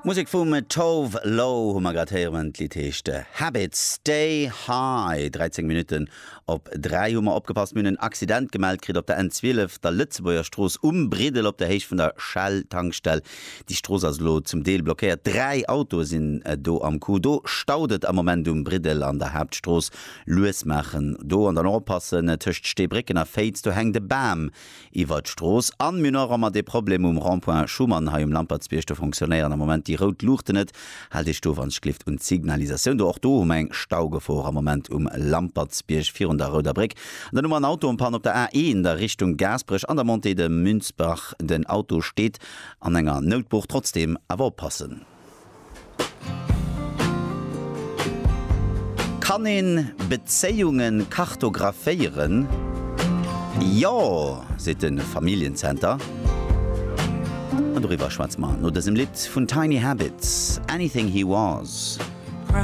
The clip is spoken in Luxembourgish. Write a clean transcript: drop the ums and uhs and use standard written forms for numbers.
Musek vum Tove Lo hu mer grad héieren. D'Lidd heescht Habits. Stay High. 13 Minutten op 3 hu mer opgepasst. Mir hunn en Accident gemellt kritt op der N12, der Lëtzebuerger Strooss um Briddel op der Héicht vun der Shell Tankstell. Déi Strooss ass elo zum Deel blockéiert. 3 Autoe sinn do am Coup. Do staut et am Moment um Briddel an der Haaptstrooss. Lues maachen do an dann och oppassen tëscht Steebrécken a Féiz, do hänkt e Bam Iwwert d'Strooss. An mir hunn och ëmmer dee Problem um Rond-point Schuman hei um Lampertsbierg, do fonctionnéieren am Moment déi rout Luuchten net. Haalt Iech do wann ech gelift un d'Signalisatioun do. Och do hu mer eng Staugefor am Moment um Lampertsbierg virun der Rouder Bréck. An dann hu mer en Auto en panne op der A1 a Richtung Gaasperech an der Montée de Münzbach. Den Auto steet an enger Noutbuch. Trotzdeem awer oppassen. Kann een Bezéiungen kartographéieren? Jo, seet de Familljencenter. An doriwwer schwätze mer no dësem Lidd vun Tiny Habits, Anything He Was.